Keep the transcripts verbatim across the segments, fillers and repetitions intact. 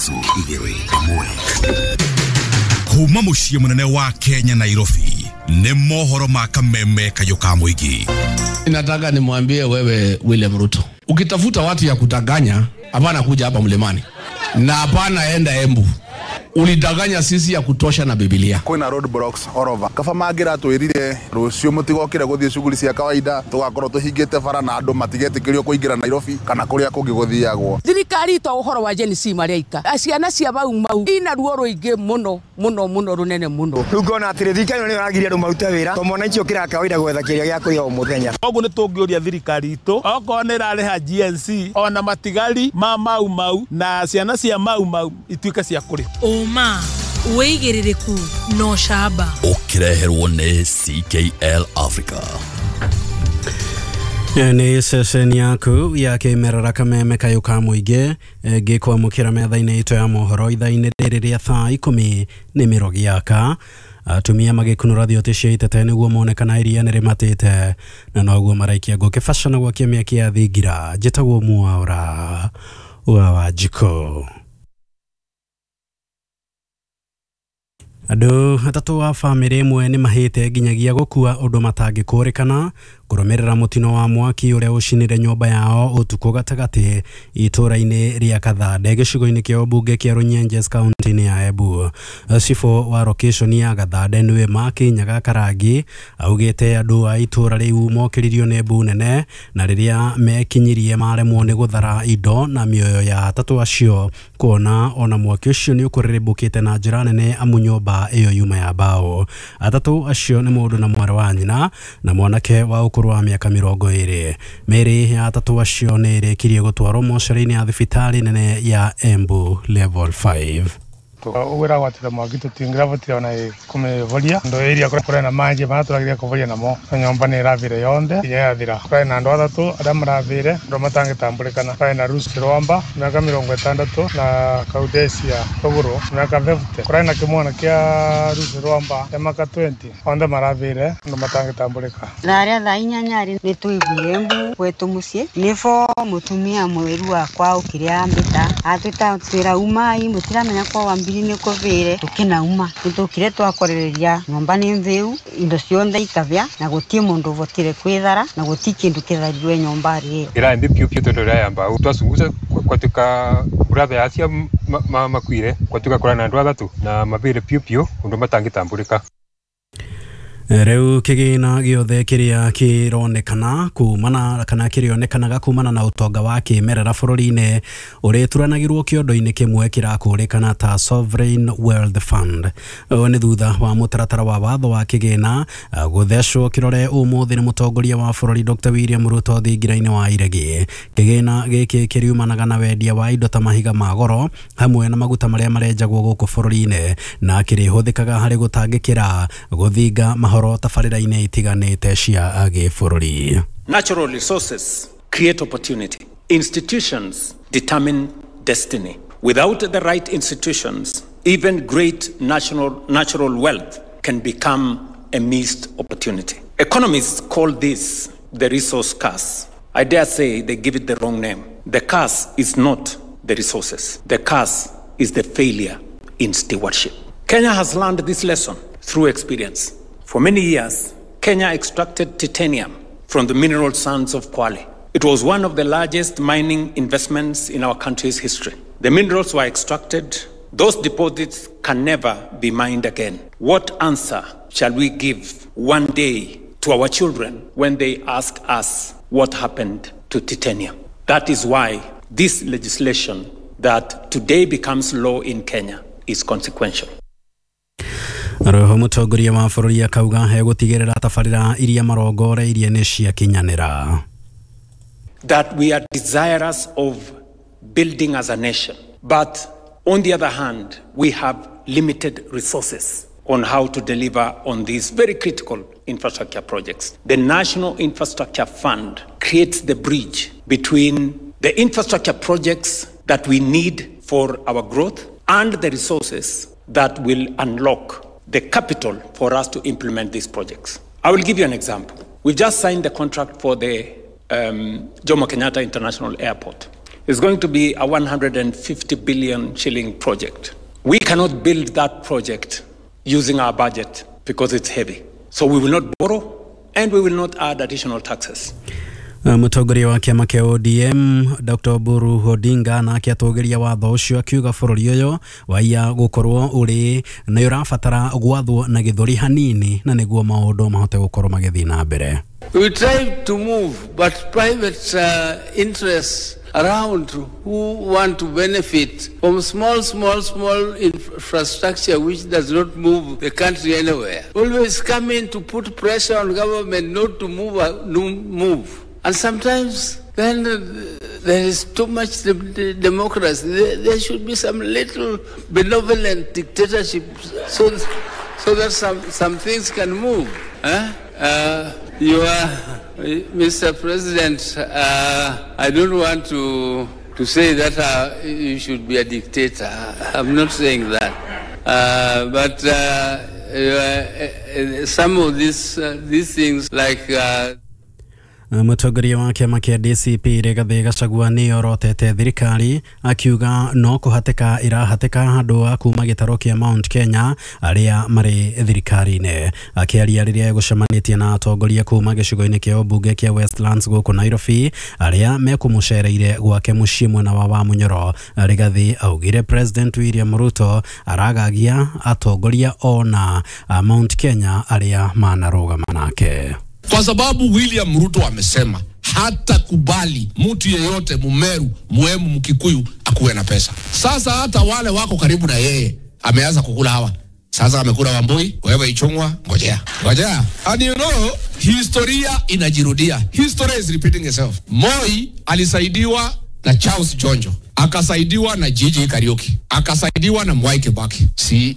Igĩrĩ ĩmwe kuma mũciĩ mũnene wa Kenya Nairobi nĩ mohoro ma kameme kayũ ka mũingĩ. Nataka nimwambie wewe William Ruto, ukitafuta watu ya kutanganya, hapana kuja hapa Mlimani na hapana enda Embu. Ulidanganya sisi ya kutosha na Biblia. Kwina road blocks all over. Kaba mangiratwirire rucio mutigokire guthie shughuli cia kawaida tugakorwo tuhingite bara na andu matigetikirio kuingira Nairobi kana kuria kungi guthiagwo. Thirikari to uhoro wa Gen Z mareika. Ciana cia Mau Mau ina ruo ruingi muno muno muno runene muno. Riu ngona atiri thirikari ni ragiria andu marute wira to mwananchi ukira kawaida gwetha kiria gia kuria o muthenya. Koguo nitungiuria thirikari itu okorwo ni irariha G N Z ona matigari ma Mau Mau na ciana cia Mau Mau ituike cia kuri. Ũma wĩigĩrĩrĩku no camba. Ũkĩreherwo nĩ C K L Africa. Nĩ ceceni yaku ya kĩmerera kameme kayũ ka mũingĩ ngĩkwamũkĩra metha-inĩ itũ ya mohoro ithaa-inĩ rĩrĩ rĩa thaa ikũmi nĩ mĩrogi yaka. Atumia magĩkunũra thiote cia itete nĩguo mone kana iria nĩ rĩmatĩte na noguo maraikia ngũkĩ baca na gwakia mĩaki ya thingira. Njĩtagwo Mwaũra wa Wanjikũ. Andũ atatũ a bamĩrĩ ĩmwe nĩ mahĩte nginyagia gũkua ũndũ matangĩkũrĩkana kũrũmĩrĩra mũtino wa mwaki ũrĩa ũcinire nyũmba yao ũtukũ gatagatĩ itũũra-inĩ rĩa Kathande, gĩcigo-inĩ kĩa ũmbunge kĩa Runyenjes, kaunti-inĩ ya Embu. Cibũ wa location ya Gathande, nĩwe Makinyaga Karangi, augĩte andũ a itũũra rĩu mokĩririo nĩ mbu nene na rĩrĩa mekinyirie maremwo nĩ gũthara indo na mĩoyo ya atatũ acio, kuona ona mwaki ũcio nĩ ũkũrĩrĩmbũkĩte na njĩra nene amu nyũmba ĩyo yuma ya mbaũ. Atatũ acio nĩ mũndũ na mwarĩ wa nyina na mwanake wa ũkũrũ wa mĩaka mĩrongo ĩrĩ. Mĩĩrĩ ya atatũ acio nĩ ĩrĩkirie gũtwarwo mocarĩ-inĩ ya thibitarĩ nene ya Embu Level five. Ũguo ĩragwatire mwaki tũtingĩravotire ona kũmĩvoria ndo area kũrĩa kũrĩ na maji marĩa tũrageria kũvoria namo na nyũmba nĩ ĩravire yonthe nginya yathira. Kũrĩ na andũ atatũ arĩa maravire andũ matangĩtambũrĩkana. Kũrĩ na Ruth Rwamba, mĩaka mĩrongo ĩtandatũ, na Kaudesia Rũgũrũ, mĩaka mĩrongo ĩnana. Kũrĩ na kĩmwana kĩa Ruth Rwamba kĩa mĩaka mĩrongo ĩĩrĩ. Othe maravire andũ matangĩtambũrĩka. Thaa rĩa thaa inyanya rĩ, nĩ twaiguire mbu gwetũ mũciĩ nĩbo mũtumia mweru wakwa okire ambĩta atwĩta twĩra umai mũtiramenya kwa wambiri nĩ kũbĩre. Tũkĩnauma nĩtũkire twakorereria nyũmba nĩ nthĩu, indo ciothe ikabĩa na gũtirĩ mũndũ ũbotire kwĩthara na gũtirĩ kĩndũ kĩtharirwe nyũmba ĩyo. Ira mbi piu piu tondu ya mbau twasunguza kwatuka brother acia makuire kwatuka kura na andu athatu na mabire piu piu undu matangitambulika. Rĩu kĩgĩna gĩothe kĩrĩa kĩronekana kumana kana kĩrĩonekanaga kumana na ũtonga wa kĩmerera bũrũri-inĩ ũrĩturanagĩrwo kĩondo-inĩ kĩmwe kĩrakũrĩkana ta Sovereign Wealth Fund. Ũũ nĩ thutha wa mũtaratara wa watho wa kĩgĩna gũthecwo kĩrore ũmũthĩ nĩ mũtongoria wa bũrũri Doctor William Ruto thingira-inĩ wa Iregi. Kĩgĩna gĩkĩ kĩriumanaga na wendia wa indo ta mahiga ma goro hamwe na maguta marĩa marenjagwo gũkũ bũrũri-inĩ na kĩrĩhũthĩkaga harĩ gũtangĩkĩra gũthinga mahoro tabarĩra-inĩ itiganĩte cia gĩbũrũri. Natural resources create opportunity. Institutions determine destiny. Without the right institutions, even great national, natural wealth can become a missed opportunity. Economists call this the resource curse. I dare say they give it the wrong name. The curse is not the resources. The curse is the failure in stewardship. Kenya has learned this lesson through experience. For many years, Kenya extracted titanium from the mineral sands of Kwale. It was one of the largest mining investments in our country's history. The minerals were extracted. Those deposits can never be mined again. What answer shall we give one day to our children when they ask us what happened to titanium? That is why this legislation that today becomes law in Kenya is consequential. Roho mũtongoria wa bũrũri akauga egũtigĩrĩra tabarĩra iria marongoreirie nĩ ciakinyanĩra. That we are desirous of building as a nation. But on the other hand, we have limited resources on how to deliver on these very critical infrastructure projects. The National Infrastructure Fund creates the bridge between the infrastructure projects that we need for our growth and the resources that will unlock the capital for us to implement these projects. I will give you an example. We've just signed the contract for the um, Jomo Kenyatta International Airport. It's going to be a one hundred fifty billion shilling project. We cannot build that project using our budget because it's heavy. So we will not borrow and we will not add additional taxes. Mũtongoria wa kĩama kĩa O D M Doctor Oburu Odinga nake atũgĩria watho ũcio akiuga bũrũri ũyũ waiya gũkorwo ũrĩ nĩ ũrabatara gwathwo na gĩthũri hanini na nĩguo maũndũ mahote gũkorwo magĩthiĩ na mbere. We try to move, but private uh, interests around who want to benefit from small, small, small infrastructure which does not move the country anywhere, always come in to put pressure on government not to move, uh, no move. And sometimes then uh, there is too much de de democracy. There, there should be some little benevolent dictatorship so, so that some, some things can move. Huh? Uh, you are, Mister President, uh, I don't want to, to say that uh, you should be a dictator. I'm not saying that. Uh, but uh, uh, some of these, uh, these things like... Uh, Mũtongoria wa kĩama kĩa D C P Rigathĩ Gachagua nĩ orotete thirikari akiuga no kũhatĩka ĩrahatĩka andũ a kuma gĩtarũ kĩa Mount Kenya arĩa marĩ thirikari-inĩ. Akĩaria rĩrĩa egũcemanĩtie na atongoria kuma gĩcigo-inĩ kĩa ũmbunge kĩa Westlands gũkũ Nairobi arĩa mekũmũcereire gwake mũciĩ mwena wa Wamunyoro, Rigathĩ augire President William Ruto aragagia atongoria ona Mount Kenya arĩa manarũgama nake. Kwa sababu William Ruto amesema hata kubali mtu yeyote Mumeru, Muemu, Mkikuyu akuwe na pesa. Sasa hata wale wako karibu na yeye ameanza kukula hawa. Sasa amekula Wambui, wewe Ichung'wa, ngojea. Ngojea. And you know, historia inajirudia. History is repeating itself. Moi alisaidiwa na Charles Jonjo, akasaidiwa na Gigi Kariuki, akasaidiwa na Mwai Kibaki. Si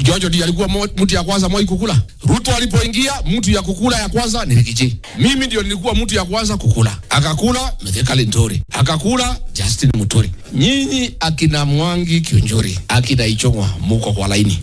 Jonjo ndiye alikuwa mtu ya kwanza Moi kukula. Ruto alipoingia mtu ya kukula ya kwanza ni Rigiji. Mimi ndio nilikuwa mtu ya kwanza kukula. Akakula Mithika Linturi, akakula Justin Muturi. Nyinyi akina Mwangi Kiunjuri, akina Ichung'wa muko kwa laini.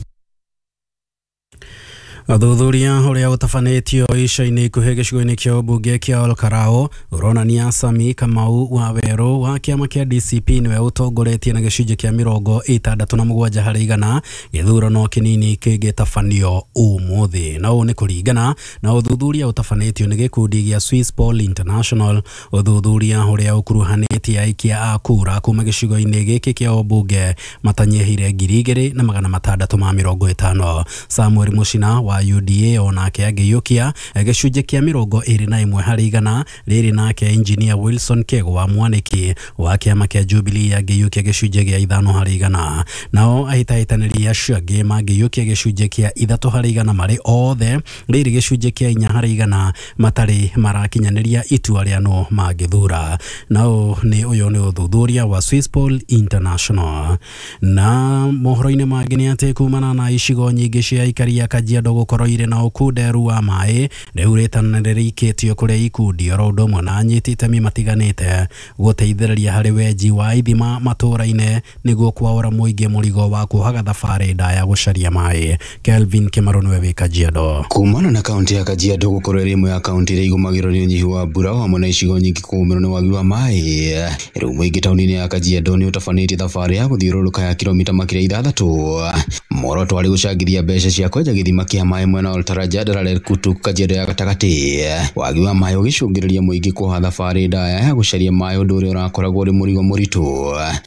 Ũthuthuria ũrĩa ũtabanĩtio ica-inĩ ikuhĩ gĩcigo-inĩ kĩa ũmbunge kĩa Olkarao ũronania Sami Kamau wa Werũ wa kĩama kĩa D C P nĩwe ũtongoretie na gĩcunjĩ kĩa mĩrongo ĩtandatũ na mũgwanja harĩ igana gĩthurano kĩnini kĩngĩtabanio ũmũthĩ. Na ũũ nĩ kũringana na ũthuthuria ũtabanĩtio nĩ gĩkundi gĩa Swiss Poll International, ũthuthuria ũrĩa ũkuruhanĩtie aikia a kura kuma gĩcigo-inĩ gĩkĩ kĩa ũmbunge matanyihĩire ngiri igĩrĩ na magana matandatũ ma mĩrongo ĩtano. Samuel Muchina wa U D A onake angĩiyũkia gĩcunjĩ kĩa mĩrongo ĩrĩ na ĩmwe harĩ igana rĩrĩ, nake engineer Wilson Kego wa Mwaniki wa kĩama kĩa Jubilee angĩiyũkia gĩcunjĩ gĩa ithano harĩ igana. Nao ahĩtahĩtanĩri acio angĩ mangĩiyũkia gĩcunjĩ kĩa ithatũ harĩ igana marĩ othe, rĩrĩ gĩcunjĩ kĩa inya harĩ igana matarĩ marakinyanĩria itua rĩa no mangĩthura. Nao nĩ ũyũ nĩ ũthuthuria wa Swiss Poll International. Na mohoro-inĩ mangĩ nĩ atĩ kumana na icigo nyingĩ cia aikari a Kajiado gũkorwo irĩ na ũkunderu wa maĩ, rĩu rĩtana nĩrĩikĩtio kũrĩ ikundi oro ũndũ ũmwe na anyiti itemi matiganĩte gũteithĩrĩria harĩ wenji wa ithima matũũra-inĩ nĩguo kwaũra mũingĩ mũrigo wa kuohaga thabarĩ ndaya gũcaria maĩ. Kelvin Kĩmarũ nĩwe wĩ Kajiado. Kumana na kaunti ya Kajiado gũkorwo ĩrĩ ĩmwe ya kaunti iria igũmagĩrwo nĩ ũnyihu wa mbura hamwe na icigo nyingĩ kũgũmĩrwo nĩ wagi wa maĩ, rĩu mũingĩ taũni-inĩ ya Kajiado nĩ ũtabanĩtie thabarĩ ya gũthiũrũrũka ya kilomita makĩria ithathatũ. Muoroto warĩ gũcangithia mbeca cia kwenja gĩthima kĩa maĩ mwena wa Oltaraja Daralel Kutuk Kajiado ya gatagatĩ. Wagi wa maĩ ũgĩcũngĩrĩria mũingĩ kuoha thabarĩ ndaya ya gũcaria maĩ, ũndũ ũrĩa ũrakoragwo ũrĩ mũrigo mũritũ.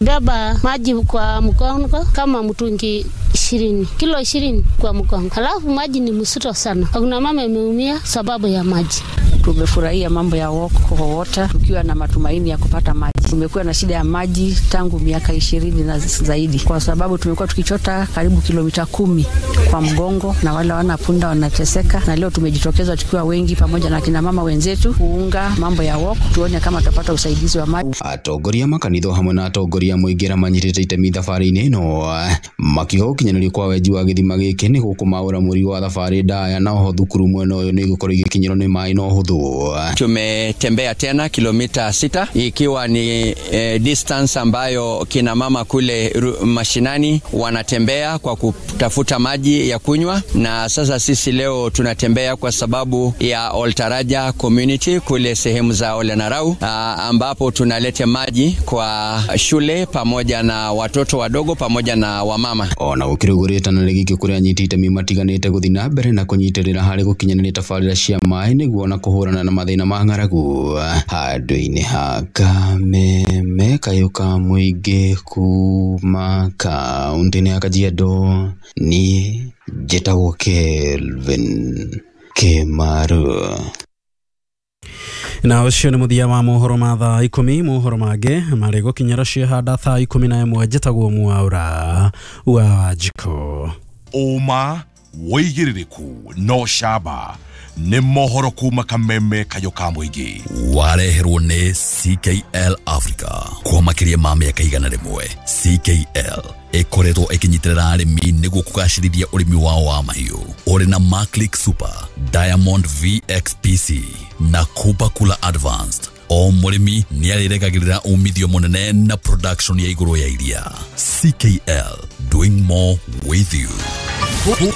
Beba maji kwa mgongo kama mtungi ishirini, kilo ishirini kwa mgongo. Halafu maji ni mzito sana. Kuna mama ameumia sababu ya maji. Tumefurahia mambo ya Walk for Water tukiwa na matumaini ya kupata maji. Tumekuwa na shida ya maji tangu miaka ishirini na zaidi, kwa sababu tumekuwa tukichota karibu kilomita kumi kwa mgongo na wale wana punda wanateseka, na leo tumejitokeza tukiwa wengi pamoja na kina mama wenzetu kuunga mambo ya walk, tuone kama tutapata usaidizi wa maji. Atongoria makanitha hamwe na atongoria mũingĩ arĩa manyitĩte itemi thabarĩ-inĩ ĩno makiuga gũkinyanĩrio kwa wenji wa gĩthima gĩkĩ nĩ gũkũmaũra mũrigo wa thabarĩ ndaya, na oho thukuru mwena ũyũ nĩ igũkorwo igĩkinyĩrwo nĩ maĩ na ũhũthũ. Kajiado. Tumetembea tena kilomita sita ikiwa ni e, distance ambayo kina mama kule mashinani wanatembea kwa kutafuta maji ya kunywa, na sasa sisi leo tunatembea kwa sababu ya Oltaraja community kule sehemu za Olenarau, ambapo tunaleta maji kwa shule pamoja na watoto wadogo pamoja na wamama. Ona gũkĩrĩ ũguo rĩtana rĩgĩikio kũrĩ anyiti itemi matiganĩte gũthiĩ na mbere na kũnyitĩrĩra harĩ gũkinyanĩria tabarĩra cia maĩ nĩguo na kũhũrana na mathĩna ma ng'aragu handũ-inĩ ha Kameme kayũ ka mũingĩ kuma kaũntĩ-inĩ ya Kajiado. Niĩ njĩtagwo Kelvin Kĩmaru. Na ũcio nĩ mũthia wa mohoro ma thaa ikũmi. Mohoro mangĩ marĩ gũkinyĩra ciehanda thaa ikũmi na ĩmwe. Njĩtagwo Mwaura wa Wanjikũ. Ũma wĩigĩrĩrĩku no camba nĩ mohoro kuma Kameme kayũ ka mũingĩ wareherwo nĩ C K L Africa kwa makĩria ma mĩaka igana rĩmwe. C K L ĩkoretwo ĩkĩnyitĩrĩra arĩmi nĩguo kũgacĩrithia ũrĩmi wao wa mahiũ ũrĩ na Maclick Super, Diamond V X P C na Kupa Kula Advanced. O mũrĩmi nĩarĩrekagĩrĩra umithio mũnene na production ya igũrũ ya iria. C K L, doing more with you.